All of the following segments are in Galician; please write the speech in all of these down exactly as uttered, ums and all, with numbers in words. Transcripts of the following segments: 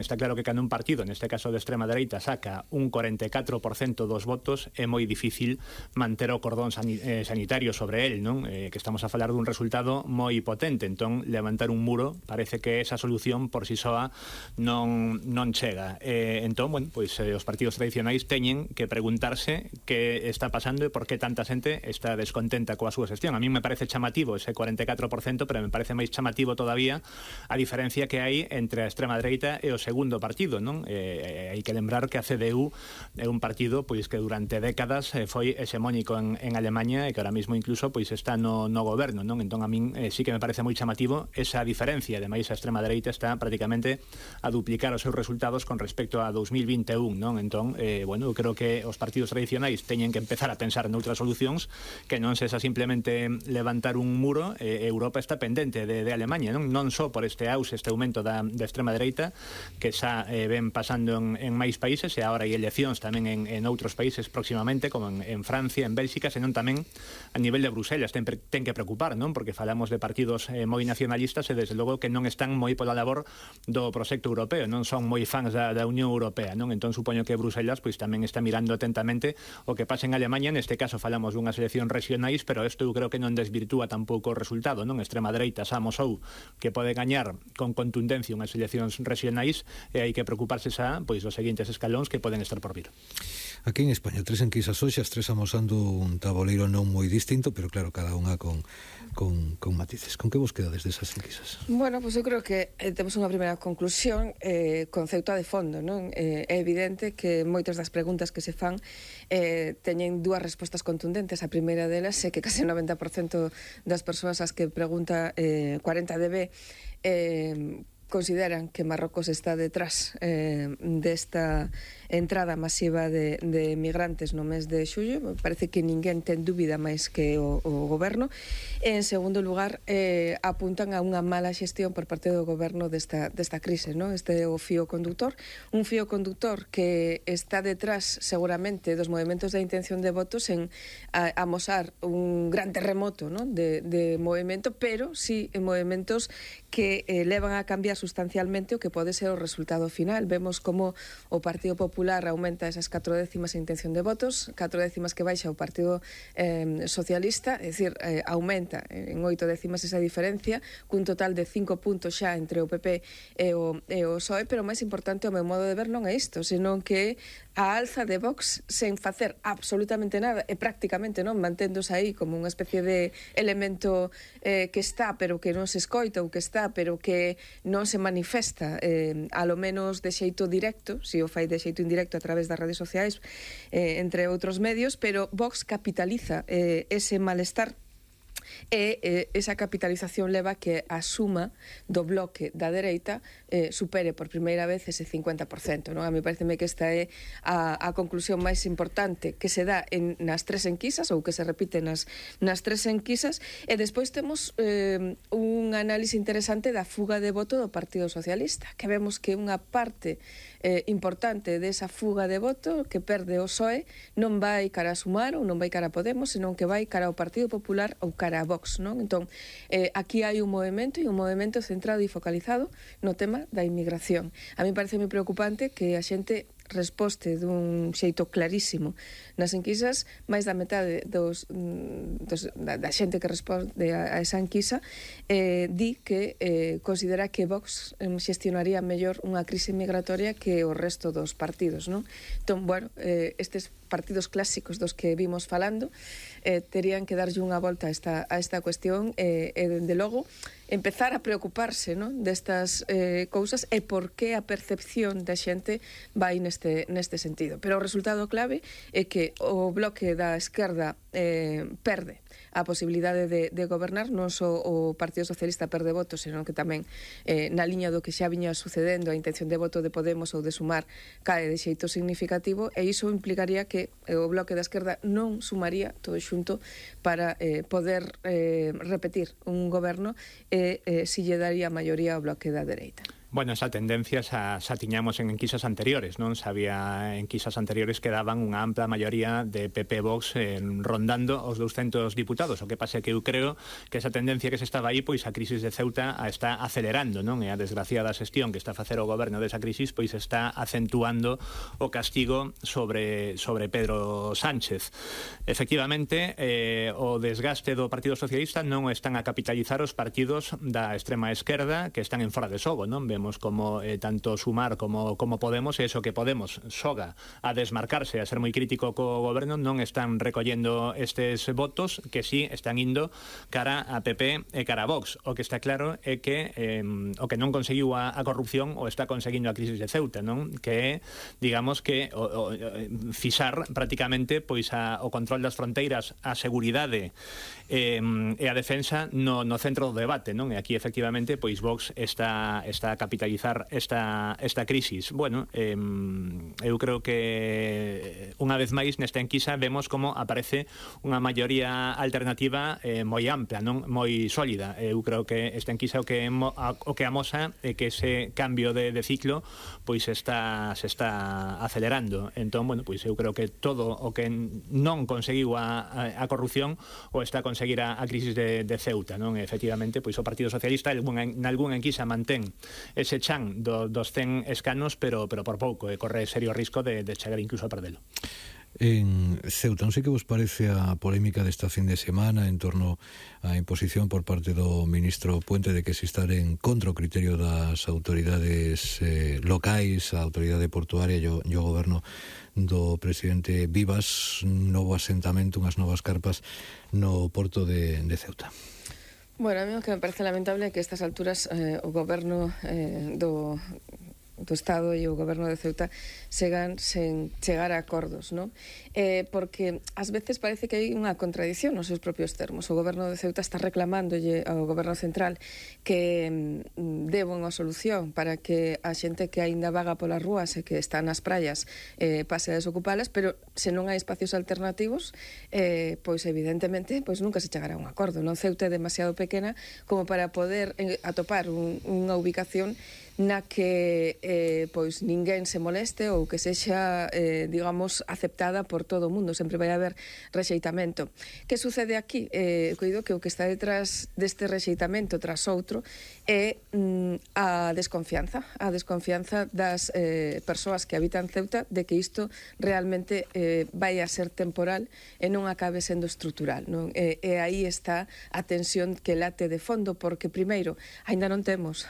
Está claro que cando un partido, neste caso de extrema dereita, saca un cuarenta e catro por cento dos votos, é moi difícil manter o cordón sanitario sobre el, non? Eh, que estamos a falar dun resultado moi potente, entón levantar un muro parece que esa solución por si soa non, non chega. Eh, entón, bueno, pois eh, os partidos tradicionais teñen que preguntarse que está pasando e por que tanta xente está descontenta coa súa xestión. A mí me parece chamativo ese cuarenta e catro por cento, pero me parece máis chamativo todavía a diferencia que hai entre a extrema dereita e os segundo partido, non? Eh, hai que lembrar que a C D U é un partido pois que durante décadas eh, foi hexemónico en, en Alemanha e que ahora mismo incluso pois está no, no goberno, non? Entón a min eh, sí que me parece moi chamativo esa diferencia. Ademais a extrema dereita está prácticamente a duplicar os seus resultados con respecto a dos mil vinte e un, non? Entón, eh, bueno, eu creo que os partidos tradicionais teñen que empezar a pensar noutras solucións que non sexa simplemente levantar un muro. eh, Europa está pendente de, de Alemanha, non? Non só por este auxe, este aumento da, da extrema dereita que xa eh, ven pasando en, en máis países, e agora hai eleccións tamén en, en outros países próximamente, como en, en Francia, en Bélxica, senón tamén a nivel de Bruselas ten, ten que preocupar, non? Porque falamos de partidos eh, moi nacionalistas e desde logo que non están moi pola labor do proxecto europeo, non son moi fans da, da Unión Europea, non? Entón supoño que Bruselas pois tamén está mirando atentamente o que pasa en Alemanha. Neste caso falamos dunhas eleccións regionais, pero isto eu creo que non desvirtúa tampouco o resultado, non? Extrema dereita xa amosou que pode gañar con contundencia unhas eleccións regionais, e hai que preocuparse xa pois dos seguintes escalóns que poden estar por vir. Aquí en España, tres enquisas hoxe, as tres amosando un taboleiro non moi distinto, pero claro, cada unha con, con, con matices. Con que vos quedades desas enquisas? Bueno, pois pues eu creo que eh, temos unha primeira conclusión, eh, concepto de fondo, non? Eh, é evidente que moitas das preguntas que se fan eh, teñen dúas respostas contundentes. A primeira delas é que case o noventa por cento das persoas as que pregunta eh, cuarenta D B eh, consideran que Marrocos está detrás eh, desta entrada masiva de, de migrantes no mes de xullo. Parece que ninguén ten dúbida máis que o, o goberno. E, en segundo lugar, eh, apuntan a unha mala xestión por parte do goberno desta, desta crise, ¿no? Este é o fío conductor, un fío conductor que está detrás seguramente dos movimentos de intención de votos en a, amosar un gran terremoto, ¿no? de, de movimento, pero sí en movimentos que eh, levan a cambiar sustancialmente o que pode ser o resultado final. Vemos como o Partido Popular aumenta esas catro décimas en intención de votos, catro décimas que baixa o Partido eh, Socialista, é dicir, eh, aumenta en oito décimas esa diferencia, cun total de cinco puntos xa entre o P P e o, e o P S O E, pero máis importante, o meu modo de ver, non é isto, senón que a alza de Vox sen facer absolutamente nada e prácticamente non manténdose aí como unha especie de elemento eh, que está pero que non se escoita, ou que está pero que non se manifesta eh, a lo menos de xeito directo, si o fai de xeito indirecto a través das redes sociais, eh, entre outros medios, pero Vox capitaliza eh, ese malestar e eh, esa capitalización leva que a suma do bloque da dereita eh, supere por primeira vez ese cincuenta por cento, non? A mí pareceme que esta é a, a conclusión máis importante que se dá en, nas tres enquisas, ou que se repite nas, nas tres enquisas. E despois temos eh, un análise interesante da fuga de voto do Partido Socialista, que vemos que unha parte eh, importante desa fuga de voto que perde o P S O E non vai cara a Sumar ou non vai cara a Podemos, senón que vai cara ao Partido Popular ou cara a Vox, non? Entón, eh, aquí hai un movimento e un movimento centrado e focalizado no tema da inmigración. A mí parece moi preocupante que a xente resposte dun xeito clarísimo nas enquisas. Máis da metade dos, dos, da, da xente que responde a, a esa enquisa eh, di que eh, considera que Vox eh, xestionaría mellor unha crise migratoria que o resto dos partidos, non? Entón, bueno, eh, estes partidos clásicos dos que vimos falando eh, terían que darlle unha volta a esta, a esta cuestión e, eh, dende logo, empezar a preocuparse, non? Destas eh, cousas e por que a percepción da xente vai neste, neste sentido. Pero o resultado clave é que o bloque da esquerda eh, perde a posibilidade de, de gobernar, non só o Partido Socialista perde votos, senón que tamén eh, na liña do que xa viña sucedendo, a intención de voto de Podemos ou de Sumar cae de xeito significativo, e iso implicaría que o bloque da esquerda non sumaría todo xunto para eh, poder eh, repetir un goberno e eh, si lle daría a maioría ao bloque da dereita. Bueno, esa tendencia xa, xa tiñamos en enquisas anteriores, non? Xa había enquisas anteriores que daban unha ampla maioría de P P Vox eh, rondando os douscentos diputados. O que pasa é que eu creo que esa tendencia que se estaba aí, pois a crisis de Ceuta a está acelerando, non? E a desgraciada xestión que está a facer o goberno desa crisis, pois está acentuando o castigo sobre, sobre Pedro Sánchez. Efectivamente, eh, o desgaste do Partido Socialista non están a capitalizar os partidos da extrema esquerda que están en fora de xogo, non? Vemos como eh, tanto Sumar como, como Podemos, e eso que Podemos xoga a desmarcarse, a ser moi crítico co goberno, non están recollendo estes votos que sí están indo cara a P P e cara a Vox. O que está claro é que eh, o que non conseguiu a, a corrupción o está conseguindo a crisis de Ceuta, non? Que é, digamos que o, o, fixar prácticamente pois a, o control das fronteiras, a seguridade eh, e a defensa no, no centro do debate, non? E aquí efectivamente pois Vox está, está a capitalizar esta, esta crisis. Bueno, eh, eu creo que unha vez máis nesta enquisa vemos como aparece unha maioría alternativa eh, moi ampla, non moi sólida. Eu creo que esta enquisa o que o que amosa é que ese cambio de, de ciclo pois está se está acelerando. Entón, bueno, pois eu creo que todo o que non conseguiu a, a, a corrupción o está a conseguir a, a crisis de, de Ceuta, non? E, efectivamente, pois o Partido Socialista en algunha enquisa mantén ese chan do, dos cen escanos, pero, pero por pouco, e corre serio risco de, de chegar incluso a perdelo. En Ceuta, non sei que vos parece a polémica desta fin de semana en torno á imposición por parte do ministro Puente de que se estar en contra o criterio das autoridades eh, locais, a autoridade portuaria e o, e o goberno do presidente Vivas, novo asentamento, unhas novas carpas no porto de, de Ceuta. Bueno, a mí o que me parece lamentable é que a estas alturas eh, o goberno eh, do... do Estado e o goberno de Ceuta segan sen chegar a acordos, non? Eh, porque ás veces parece que hai unha contradición nos seus propios termos. O goberno de Ceuta está reclamándolle ao goberno central que mm, deba unha solución para que a xente que aínda vaga polas rúas e que está nas praias eh, pase a desocupalas, pero se non hai espacios alternativos, eh, pois evidentemente pois nunca se chegará a un acordo, non? Ceuta é demasiado pequena como para poder eh, atopar un, unha ubicación na que eh, pois ninguén se moleste ou que sexa, eh, digamos, aceptada por todo o mundo. Sempre vai haber rexeitamento. Que sucede aquí? Eh, coido que o que está detrás deste rexeitamento tras outro é mm, a desconfianza, a desconfianza das eh, persoas que habitan Ceuta de que isto realmente eh, vai a ser temporal e non acabe sendo estrutural, non? E, e aí está a tensión que late de fondo, porque primeiro, aínda non temos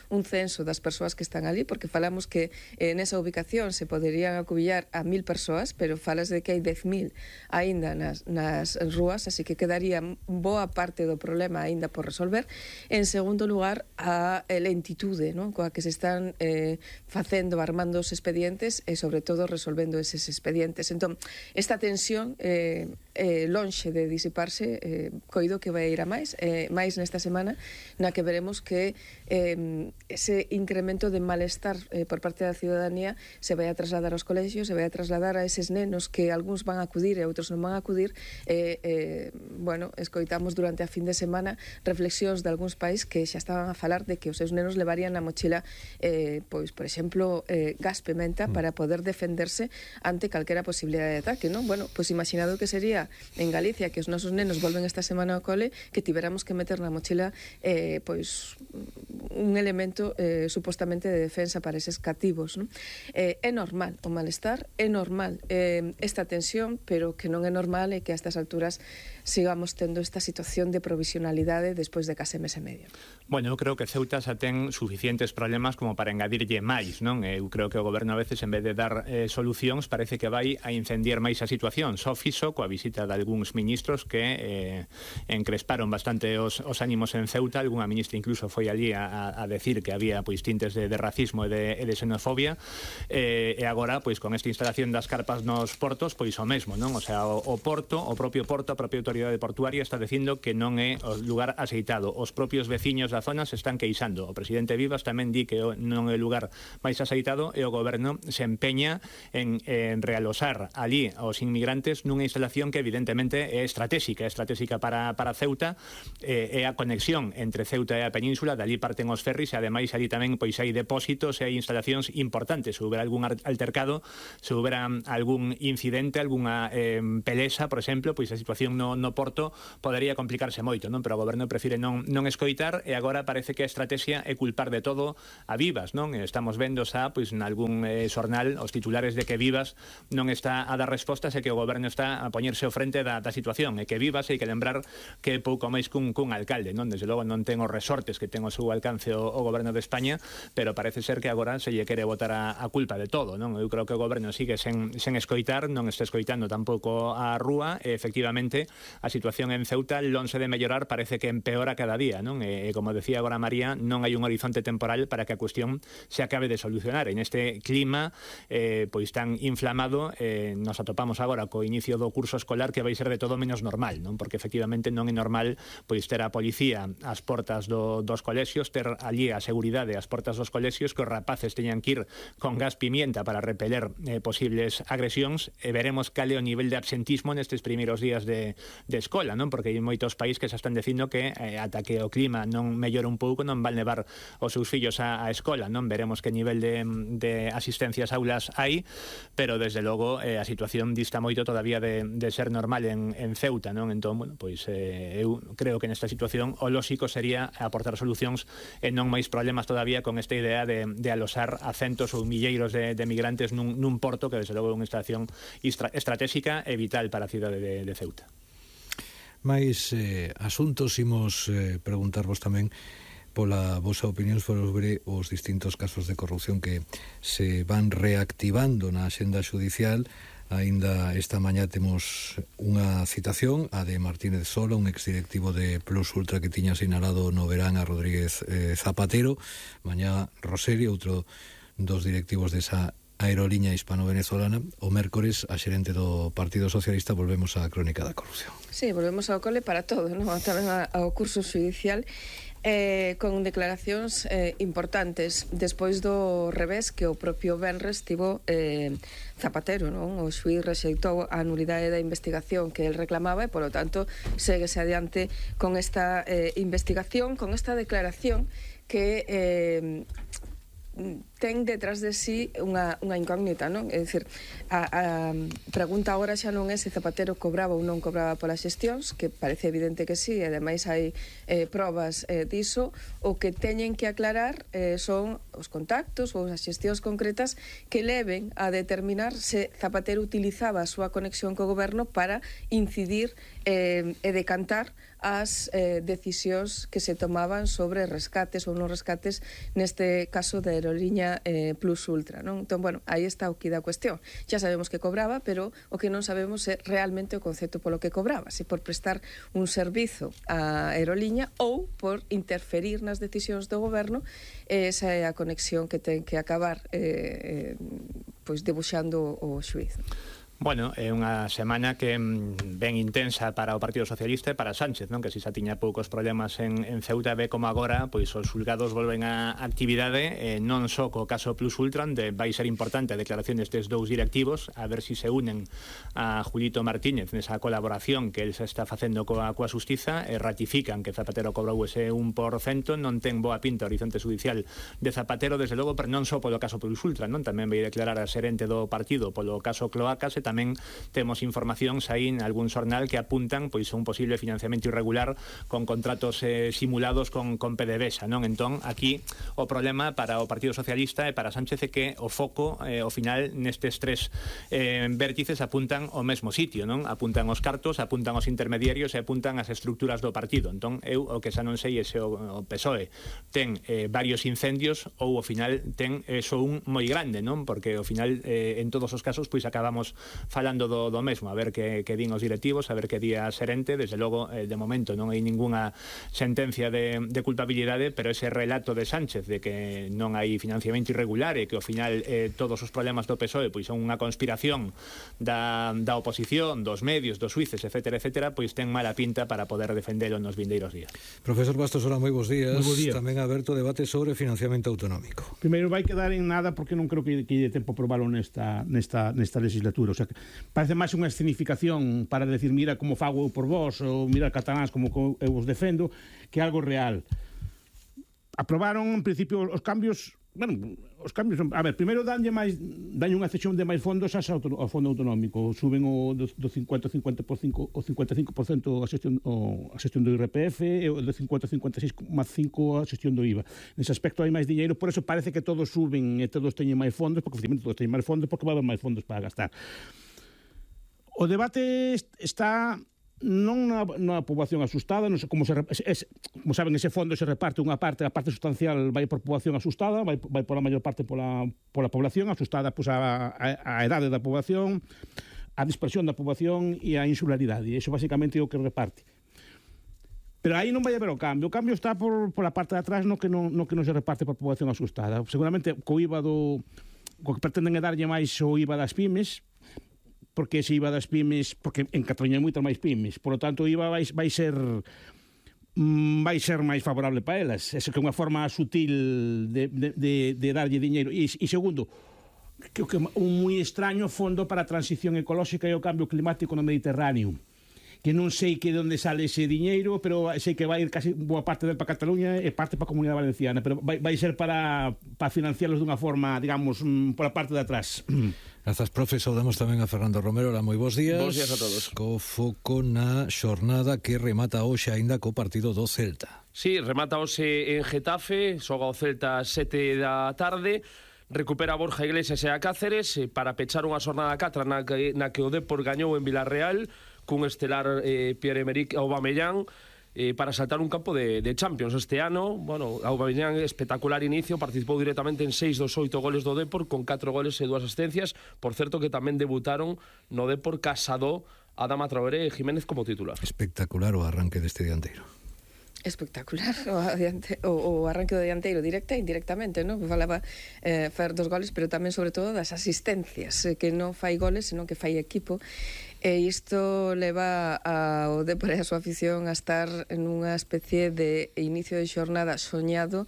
un censo das persoas que están ali, porque falamos que eh, nesa ubicación se poderían acubillar a mil persoas, pero falas de que hai dez mil aínda nas, nas rúas, así que quedaría boa parte do problema aínda por resolver. En segundo lugar, a lentitude, non? Coa que se están eh, facendo, armando os expedientes e, sobre todo, resolvendo eses expedientes. Entón, esta tensión eh, eh, lonxe de disiparse, eh, coido que vai ir a máis, eh, máis nesta semana, na que veremos que eh, ese incremento de malestar eh, por parte da ciudadanía se vai a trasladar aos colexios, se vai a trasladar a eses nenos que algúns van a acudir e outros non van a acudir. eh, eh, bueno, escoitamos durante a fin de semana reflexións de algúns país que xa estaban a falar de que os seus nenos levarían na mochila eh, pois, por exemplo, eh, gas pimenta para poder defenderse ante calquera posibilidade de ataque, non? Bueno, pois imaginado que sería en Galicia que os nosos nenos volven esta semana ao cole, que tiveramos que meter na mochila eh, pois un elemento eh, supostamente de defensa para eses cativos, non? Eh, é normal o malestar, é normal eh, esta tensión, pero que non é normal é que a estas alturas sigamos tendo esta situación de provisionalidade despois de case mes e medio. Bueno, eu creo que Ceuta xa ten suficientes problemas como para engadirlle máis, non? Eu creo que o goberno a veces, en vez de dar eh, solucións, parece que vai a incendiar máis a situación. Só fixo coa visita de algúns ministros que eh, encresparon bastante os, os ánimos en Ceuta. Algúna ministra incluso foi allí a, a decir que había pois tintes de, de racismo e de, e de xenofobia, eh, e agora, pois con esta instalación das carpas nos portos, pois o mesmo, non? O sea, o, o porto, o propio porto, a propia autoridade portuaria está dicindo que non é o lugar aceitado. Os propios veciños da zona se están queixando. O presidente Vivas tamén di que non é o lugar máis aceitado e o goberno se empeña en, en realosar ali aos inmigrantes nunha instalación que evidentemente é estratégica, é estratégica para, para Ceuta, eh, é a conexión entre Ceuta e a península, dali parten os ferris, e ademais ali tamén pois hai depósitos e hai instalacións importantes. Se houbera algún altercado, se houbera algún incidente, algunha eh, pelesa, por exemplo, pois a situación no, no porto podería complicarse moito, non? Pero o goberno prefire non, non escoitar, e agora parece que a estrategia é culpar de todo a Vivas, non? Estamos vendo xa, pois, nalgún eh, xornal, os titulares de que Vivas non está a dar respostas e que o goberno está a poñerse ao frente da, da situación, e que Vivas, hai que lembrar que é pouco máis cun, cun alcalde, non? Desde logo non ten os resortes que ten o seu alcance o, o goberno de España, pero parece ser que agora se lle quere botar a, a culpa de todo, non? Eu creo que o goberno sigue sen, sen escoitar, non está escoitando tampouco a rúa, e efectivamente a situación en Ceuta, lonxe de mellorar, parece que empeora cada día, non? E, e como decía agora María, non hai un horizonte temporal para que a cuestión se acabe de solucionar. En este clima eh, pois tan inflamado, eh, nos atopamos agora co inicio do curso escolar, que vai ser de todo menos normal, non? Porque efectivamente non é normal pois ter a policía ás portas do, dos colexios, ter allí a seguridade ás portas dos colexios, que os rapaces teñan que ir con gas pimienta para repeler eh, posibles agresións, e veremos cal é o nivel de absentismo nestes primeiros días de, de escola, non? Porque hai moitos países que se están dicindo que eh, ata que o clima non mellora un pouco non van levar os seus fillos á, á escola, non? Veremos que nivel de, de asistencia ás aulas hai, pero desde logo eh, a situación dista moito todavía de, de ser normal en, en Ceuta, non? Entón, bueno, pois eh, eu creo que nesta situación o lóxico sería aportar solucións e non máis problemas todavía con esta idea de, de alosar a centos ou milleiros de, de migrantes nun, nun porto que desde logo é unha instalación estratégica e vital para a cidade de, de Ceuta. Mais eh, asuntos imos eh, preguntarvos tamén pola vosa opinión sobre os distintos casos de corrupción que se van reactivando na axenda judicial. Ainda esta mañá temos unha citación, a de Martínez Sola, un exdirectivo de Plus Ultra que tiña sinalado no verán a Rodríguez eh, Zapatero. Mañá Roseri, outro dos directivos desa aeroliña hispano-venezolana. O mércores, a xerente do Partido Socialista. Volvemos á crónica da corrupción. Sí, volvemos ao cole para todo, non? Tamén ao curso judicial, eh, con declaracións eh, importantes despois do revés que o propio Benres tivo eh, Zapatero, non? O xuíz rexeitou a nulidade da investigación que el reclamaba e, polo tanto, séguese adiante con esta eh, investigación, con esta declaración que eh, ten detrás de sí unha, unha incógnita, non? É dicir, a, a pregunta agora xa non é se Zapatero cobraba ou non cobraba polas xestións, que parece evidente que sí, e ademais hai eh, probas eh, diso. O que teñen que aclarar eh, son os contactos ou as xestións concretas que leven a determinar se Zapatero utilizaba a súa conexión co goberno para incidir eh, e decantar as eh, decisións que se tomaban sobre rescates ou non rescates, neste caso da aeroliña eh, Plus Ultra, non? Entón, bueno, aí está o que da cuestión. Já sabemos que cobraba, pero o que non sabemos é realmente o concepto polo que cobraba, se por prestar un servizo á aeroliña ou por interferir nas decisións do goberno. Esa é a conexión que ten que acabar eh, eh, pois debuxando o xuíz. Bueno, é unha semana que ben intensa para o Partido Socialista e para Sánchez, non? Que si xa tiña poucos problemas en, en Ceuta, ve como agora pois os xulgados volven á actividade, eh, non só co caso Plus Ultra, onde vai ser importante a declaración destes dous directivos, a ver si se unen a Julito Martínez nesa colaboración que el se está facendo coa, coa Xustiza, e ratifican que Zapatero cobrou ese un por cento. Non ten boa pinta o horizonte judicial de Zapatero, desde logo, pero non só polo caso Plus Ultra, non? Tamén vai declarar a xerente do partido polo caso Cloacas, e tamén temos informacións aí en algún xornal que apuntan pois a un posible financiamento irregular con contratos eh, simulados con, con PDVSA, non? Entón, aquí o problema para o Partido Socialista e para Sánchez é que o foco, eh, ao final, nestes tres eh, vértices apuntan ao mesmo sitio, non? Apuntan os cartos, apuntan os intermediarios e apuntan as estructuras do partido. Entón, eu o que xa non sei é se o, o P S O E ten eh, varios incendios ou ao final ten eh, só un moi grande, non? Porque ao final, eh, en todos os casos, pois acabamos falando do, do mesmo, a ver que, que din os directivos, a ver que di a xerente. Desde logo, eh, de momento non hai ningunha sentencia de, de culpabilidade, pero ese relato de Sánchez de que non hai financiamento irregular e que ao final eh, todos os problemas do P S O E pois son unha conspiración da, da oposición, dos medios, dos suíces, etcétera, etcétera, pois ten mala pinta para poder defendelo nos vindeiros días. Profesor Bastos, hola, moi bons días. Moi bons días. Tamén aberto debate sobre financiamento autonómico. Primeiro vai quedar en nada porque non creo que, que lle tempo aprobalo nesta, nesta, nesta legislatura. O sea, parece máis unha escenificación para decir mira como fago eu por vos, ou mira cataláns como eu os defendo, que algo real. Aprobaron, en principio, os cambios... Bueno, os cambios... A ver, primeiro danlle máis danlle unha cesión de máis fondos ao fondo autonómico. Suben o do, do cincuenta ao cincuenta por cinco o cincuenta e cinco por cento a xestión, o, a xestión do I R P F e o do cincuenta ao cincuenta e seis coma cinco a xestión do I V A. Nese aspecto hai máis diñeiro, por eso parece que todos suben e todos teñen máis fondos, porque efectivamente todos teñen máis fondos porque vai haber máis fondos para gastar. O debate está... non na, na poboación asustada, non sei como se, es, como saben, ese fondo se reparte unha parte, a parte sustancial vai por poboación asustada, vai, vai por a maior parte pola, pola población asustada, pois a, a, a edade da poboación, a dispersión da poboación e a insularidade, e iso basicamente é o que reparte. Pero aí non vai haber o cambio, o cambio está por, por a parte de atrás no que non, no que non se reparte por poboación asustada. Seguramente co I V A do... co que pretenden é darlle máis o I V A das pymes, porque ese I V A das pymes, porque en Cataluña hai moitas máis pymes, por lo tanto o I V A vai, vai ser vai ser máis favorable para elas. Esa que é unha forma sutil de, de, de, de darlle diñeiro. E, e segundo, creo que un moi extraño fondo para a transición ecolóxica e o cambio climático no Mediterráneo, que non sei que de onde sale ese diñeiro, pero sei que vai ir casi boa parte del para Cataluña e parte para a Comunidade Valenciana, pero vai, vai ser para, para financiarlos dunha forma, digamos, por a parte de atrás. Grazas, profe. Saudamos tamén a Fernando Romero. Hola, moi bons días. Bons días a todos. Co foco na xornada que remata hoxe aínda co partido do Celta. Sí, remata hoxe en Getafe, xoga o Celta a sete da tarde, recupera Borja Iglesias e a Cáceres para pechar unha xornada catra na que, na que o Depor gañou en Villarreal cun estelar eh, Pierre-Emerick Aubameyang, eh, para saltar un campo de, de Champions este ano. Bueno, Aubameyang, espectacular inicio, participou directamente en seis dos oito goles do Depor, con catro goles e dúas asistencias. Por certo que tamén debutaron no Depor Casado, Adama Traoré e Jiménez como titular. Espectacular o arranque deste dianteiro. Espectacular o, adiante, o, o arranque do dianteiro, directa e indirectamente, non? Falaba eh, fer dos goles, pero tamén sobre todo das asistencias, eh, que non fai goles, senón que fai equipo, e isto leva ao Depor e a súa afición a estar en unha especie de inicio de xornada soñado,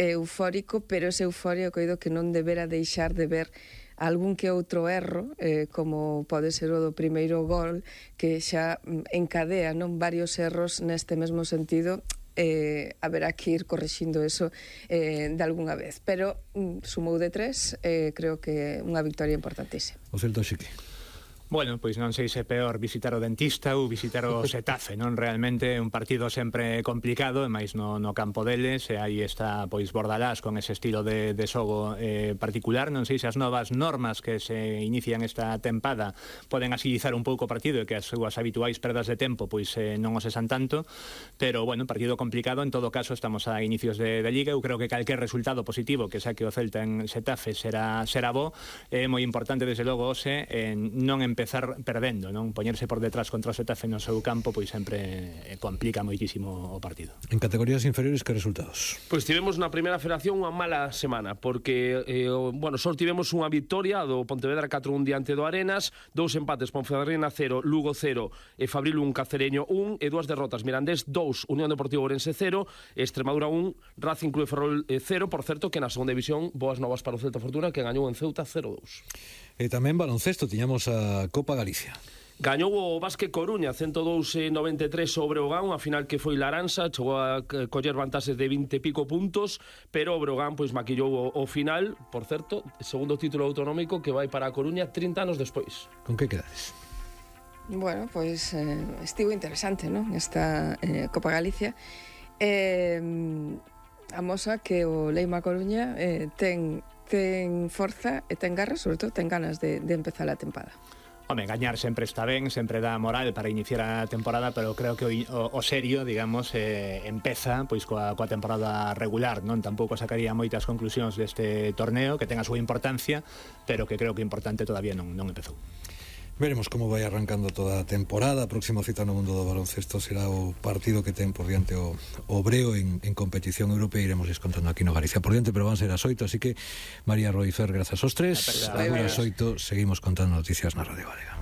eufórico, pero ese euforia coido que non debera deixar de ver algún que outro erro, eh, como pode ser o do primeiro gol, que xa encadea non varios erros neste mesmo sentido. Eh, haberá que ir corrixindo eso eh, de algunha vez, pero mm, sumou de tres, eh, creo que unha victoria importantísima. O Celta Xique. Bueno, pois non sei se é peor visitar o dentista ou visitar o Xetafe, non? Realmente un partido sempre complicado, e máis no, no campo deles, e aí está pois Bordalás con ese estilo de, de xogo eh, particular. Non sei se as novas normas que se inician esta tempada poden agilizar un pouco o partido e que as súas habituais perdas de tempo pois eh, non o sesan tanto, pero bueno, partido complicado. En todo caso, estamos a inicios de, de Liga. Eu creo que calquer resultado positivo que saque o Celta en Xetafe será, será bo. É moi importante, desde logo, hoxe, eh, non en empezar perdendo, non? Poñerse por detrás contra o Xetafe no seu campo pois sempre complica moitísimo o partido. En categorías inferiores, que resultados? Pois tivemos na primeira federación unha mala semana, porque eh, bueno, só tivemos unha victoria do Pontevedra catro un diante do Arenas, dous empates, Ponferradina cero, Lugo cero e Fabril un, Cacereño un, e dúas derrotas, Mirandés dous, Unión Deportiva Ourense cero, Extremadura un, Racing Club de Ferrol cero. Por certo que na segunda división boas novas para o Celta Fortuna, que gañou en Ceuta cero dous. E tamén baloncesto, tiñamos a Copa Galicia. Gañou o Básquet Coruña cento dous a noventa e tres sobre o Breogán, unha final que foi laranxa, chegou a coller vantaxes de vinte e pico puntos, pero o Breogán pois maquillou o, o final. Por certo, segundo título autonómico que vai para a Coruña trinta anos despois. Con que quedades? Bueno, pois eh, estivo interesante, non? Esta eh, Copa Galicia. Eh, amosa que o Leima Coruña eh, ten ten forza e ten garra, sobre todo ten ganas de, de empezar a tempada. Home, gañar sempre está ben, sempre dá moral para iniciar a temporada, pero creo que o, o, o serio, digamos, eh, empeza pois coa, coa temporada regular, non? Tampouco sacaría moitas conclusións deste torneo, que ten a súa importancia, pero que creo que importante todavía non, non empezou. Veremos como vai arrancando toda a temporada. A próxima cita no mundo do baloncesto será o partido que ten por diante o, o Breo en, en competición europea. Iremos contando aquí no Galicia por diante, pero van ser as oito, así que María Roifer, grazas aos tres. Agora as oito seguimos contando noticias na Radio Galega.